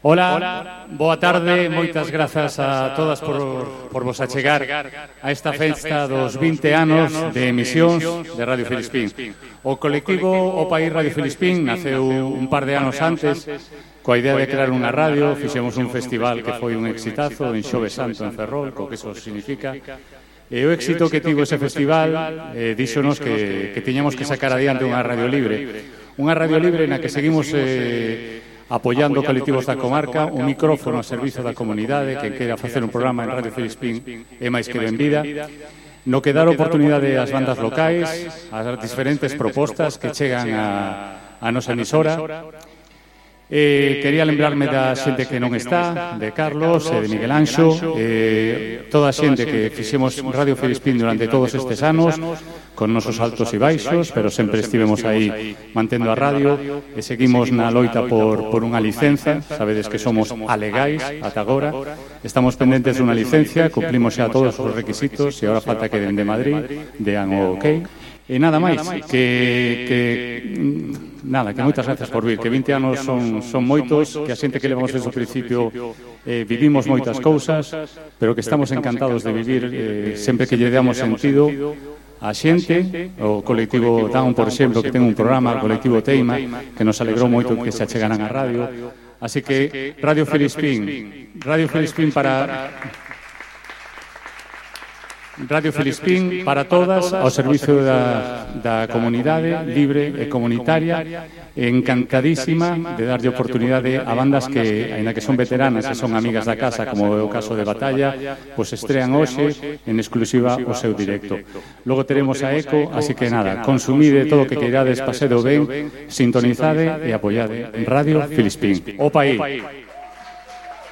Ola, boa tarde, moitas grazas a todas por vos achegar a esta festa dos 20 anos de emisións de Radio Filispín. O colectivo O País Radio Filispín naceu un par de anos antes coa idea de crear unha radio. Fixemos un festival que foi un exitazo en Xoves Santo en Ferrol, co que eso significa. E o éxito que tivo ese festival díxonos que tiñamos que sacar adiante unha radio libre. Unha radio libre na que seguimos apoiando colectivos da comarca, un micrófono a servizo da comunidade, que queira facer un programa en Radio Filispín é máis que benvida, no que dar oportunidade ás bandas locais, ás diferentes propostas que chegan a nosa emisora. Quería lembrarme da xente que non está, de Carlos e de Miguel Anxo, toda a xente que fixemos Radio Filispín durante todos estes anos, con nosos altos e baixos, pero sempre estivemos aí mantendo a radio e seguimos na loita por unha licenza. Sabedes que somos alegais ata agora, estamos pendentes dunha licencia, cumplimos xa todos os requisitos e agora falta que den de Madrid, dean o ok. E nada máis, que moitas gracias por vir, que 20 anos son moitos, que a xente que levamos desde o principio vivimos moitas cousas, pero que estamos encantados de vivir sempre que lle damos sentido a xente. O colectivo Down, por exemplo, que ten un programa, o colectivo Teima, que nos alegrou moito que se achegaran a radio. Así que Radio Filispín para todas, ao servicio da comunidade libre e comunitaria, encantadísima de darlle oportunidade a bandas que, aínda que son veteranas e son amigas da casa, como é o caso de Batalla, pois estrean hoxe en exclusiva o seu directo. Logo teremos a Eco, así que nada, consumide todo o que queirades, pasedo ben, sintonizade e apoiade Radio Filispín. O País.